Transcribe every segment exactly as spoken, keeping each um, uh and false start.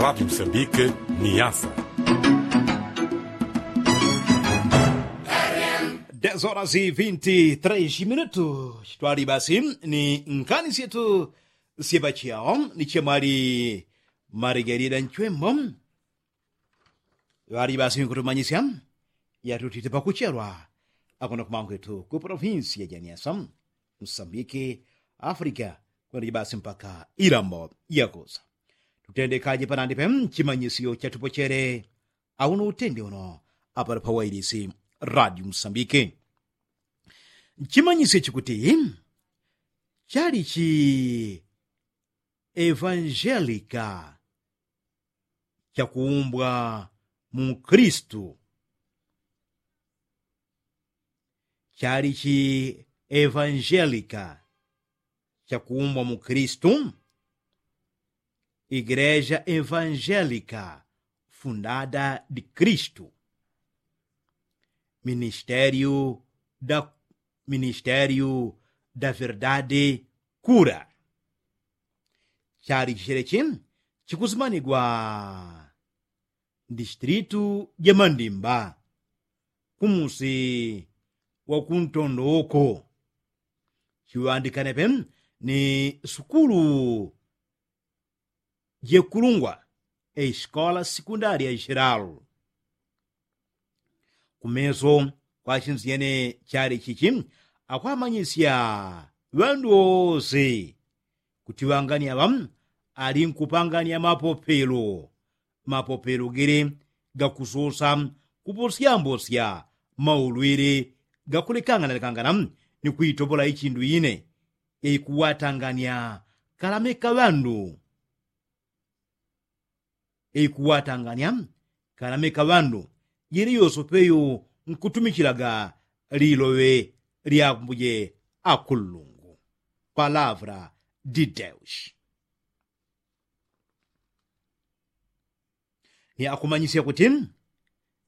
Pati msambike ni yasa. Dez horas e vinti três minutu. Chitwali basi ni nkani syetu syepachiao ni chemwali marigerida nchwembo. Ŵali basi nkutumanyisya yatutite pakuchelwa akuno kumangwetu ku provinsi ya janiasa, msambiki, afrika, kwenda jibasi mpaka ilambo yakusa. Tutendekaje panandi pe mchimanyisyo chatupochele auno utende uno apali pawailisi radio msambiki. Mchimanyisyo chikuti chali chi evangelika chakuumbwa mu kristu. Chali chi evangelika chakuumbwa mu kristu. Igreja evangelika fundada di kristu. Ministeriu da ministeriu da verdade kura. Chali chichelechi chikusimanigwa ndistritu ja mandimba kumusi wa kuntondoko. Chiŵandikane pe ni sukulu jekulungwa eskola sikundalia jelalu. Kumeso kwachinziyene chali chichi akwamanyisya ŵandu wose kuti ŵangani aŵa ali nkupangania mapopelo. Mapopelo gele gakusosa kuposyambosya maulwele gakulekanganalekangana ni kwitopola ichindu ine. Eikuwatangania kalameka ŵandu. Eikuwatangania kalameka ŵandu jele yosopeyo nkutumichilaga liloŵe lyambuje akulungu. Palavra di deus. Ni akumanyisya kuti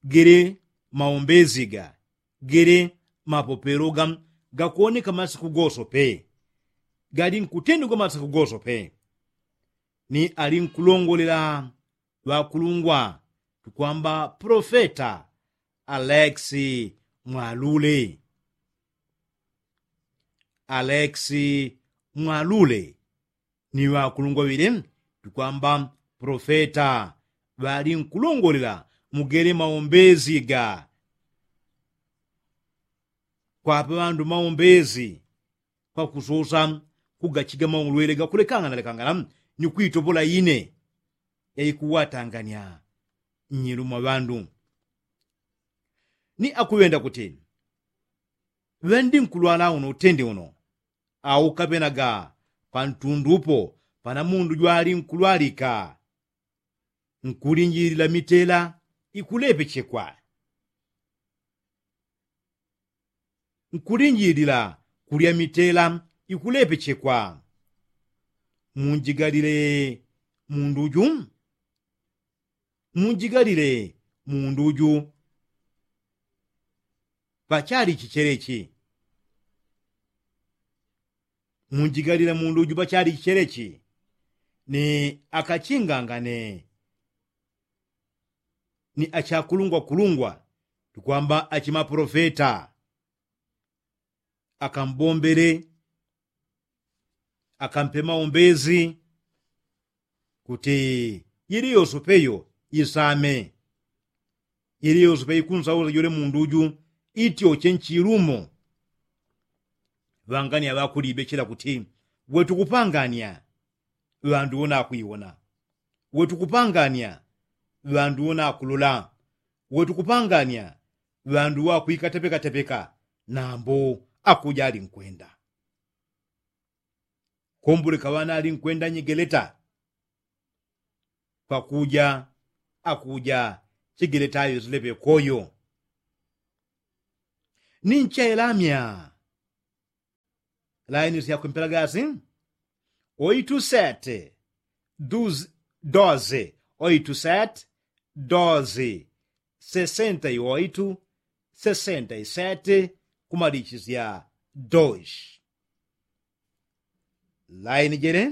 gele maombezi ga gele mapopelo ga gakuoneka masiku gosope. Gali nkutendegwa masiku gosope. Ni ali nkulongolela ŵakulungwa tukwamba profeta alex mwalule. Alex mwalule ni ŵakulungwa ŵile tukwamba profeta ŵali nkulongolela mugele maombezi ga kwapa ŵandu maombezi kwakusosa kugachiga maulwele gakulekanganalekangana ni kwitopola ine. Yaikuwatangania nnyelu mwa ŵandu ni akuŵenda kuti ŵendi nkulwala uno utende uno au kaŵenaga pantundu upo pana mundu jwali nkulwalika. Nkulinjilila mitela ikulepechekwa. Nkulinjilila kulya mitela ikulepechekwa. Munjigalile mundu ju munjigalile mundu ju pachali chichelechi. Munjigalile mundu ju pachali chichelechi ni akachingangane ni achakulungwakulungwa tukwamba achimapolofeta akambombele akampe maombezi kuti yili yosope yo isame. Yili yosope ikunsausa jole mundu ju ityoche nchilumo. Ŵangania ŵakulibe chila kuti wetukupangania ŵandu wonakwiwona. Wetukupangania ŵandu wonakululo. Wetukupangania ŵandu wakwikatepekatepeka nambo akuja alinkwenda. Kombulika ŵana alinkwenda nyigeleta kwakuja akuja chigeleta ayo zileŵe koyo. Ninchelamya laini syakwempela gasi oitu sete doze oitu sete doze sesenta i oitu sesenta i sete kumalichisya doze. Laini jele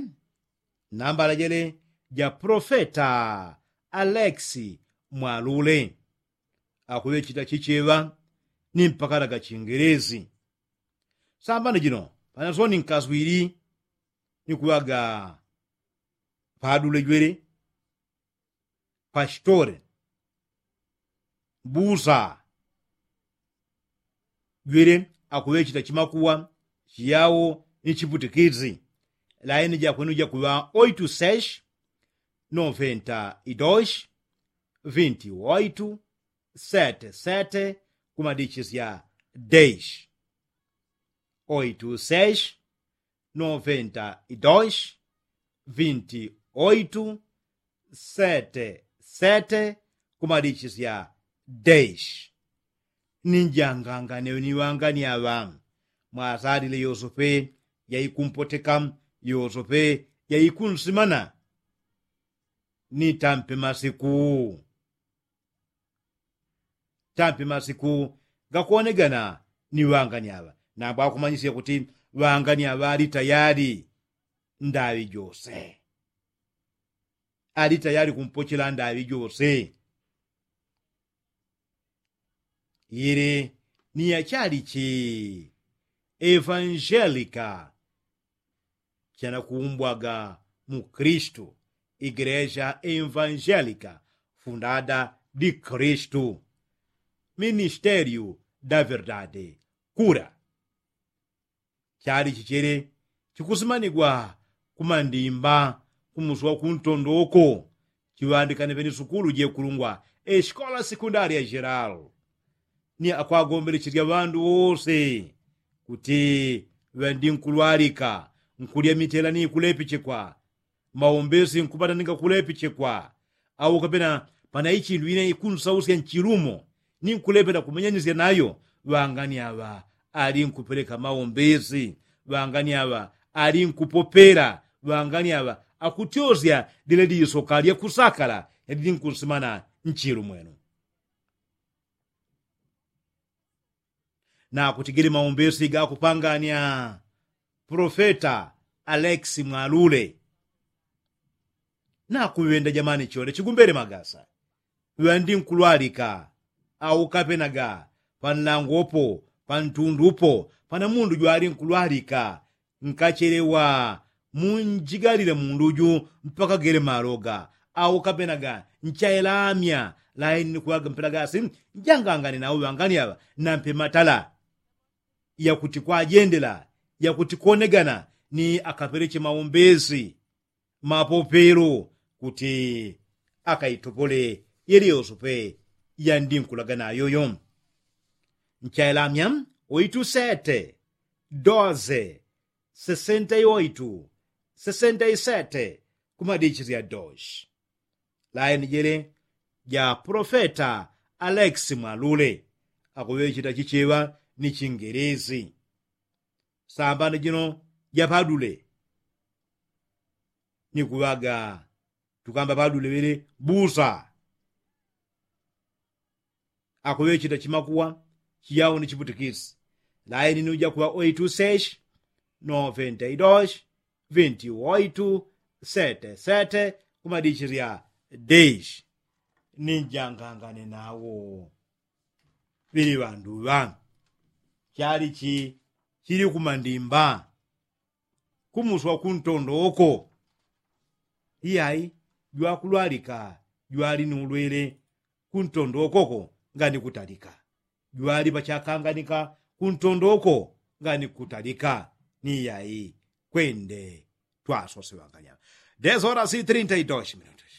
nambala jele ja profeta aleksi mwalule akuŵechita chicheŵa ni mpakala ga chingelezi. Sambano jino panasoni nkaswili ni kuŵaga padule jwele pastore busa jwele akuŵechita chimakuwa chiyawo ni chiputikisi. Laini jakwenu jakuŵa oitu seshi noventa idoshi vinti oitu sete sete kumadichisya deishi. Oitu seshi noventa idoshi vinti oitu sete sete kumadichisya deishi. Ninjangangane ni ŵangani aŵa mwasalile yosope yaikumpoteka yosope yaikunsimana. Ni tampe masiku tampe masiku gakuonegana ni ŵangani aŵa. Nambwakumanyisya kuti ŵangani aŵa ali tayali ndaŵi jose ali tayali kumpochela ndaŵi jose. Ili ni yachali chi evanjelika chanakuumbwaga mu kristu igreja evanjelika fundada di kristu ministeriu da verdade kura. Chali chichele chikusimanigwa kumandimba kumusi wa kuntondoko chiŵandikane pene sukulu jekulungwa esikola sekundaria jeral ni akwagombelecheja ŵandu wose kuti ŵandinkulwalika nkulya mitela ni kulepechekwa maombesi nkupata ninga kulepechekwa. Au kapena pana ichindu ine ikunsausya nchilumo ni nkulepela kumenyanisya nayo ŵangani aŵa ali nkupeleka maombesi ŵangani aŵa ali nkupopela ŵangani aŵa akutyosya lile lisoka lya kusakala yalili nkunsimana nchilu mwenu. Nakutigile maombesi gakupangania profeta aleksi mwalule. Nakuŵenda jamani chole chigumbele magasa ŵandi nkulwalika au kapenaga panlangopo pantundupo pana mundu jwali nkulwalika nkachelewa munjigalile mundu ju mpaka gele maloga au kapenaga nchaelamya laini nikuŵaga mpelagasi njangangane nau ŵangani aŵa nampe matala yakuti kwajendela yakuti konegana ni akapeleche maombesi mapopelo kuti akaitopole yeliyosope yandinkulagana yoyo. Nchailamya oitu sete doze sesenta i oitu sesenta i sete kumadichisya doshi. Laini jele ja profeta aleksi mwalule akuŵechita chicheŵa ni chingelezi. Sambano jino japadule ni kuŵaga tukamba padule ŵele busa akuŵechita chimakuwa chiyawo ni chiputikisi. Laini ni ujakuŵa oitu seshi noventa i doshi vinti oitu sete sete kumadichisya deishi. Ninjangangane nawo ŵili ŵandu ŵa chali chi chili kumandimba kumuswa kuntondo oko. Iyai jwakulwalika jwali ni ulwele kuntondo okoko ngani kutalika jwali pachakanganika kuntondo oko ngani kutalika. Ni iyai kwende twasosewanganya. Desola si trinta i doshi minutus.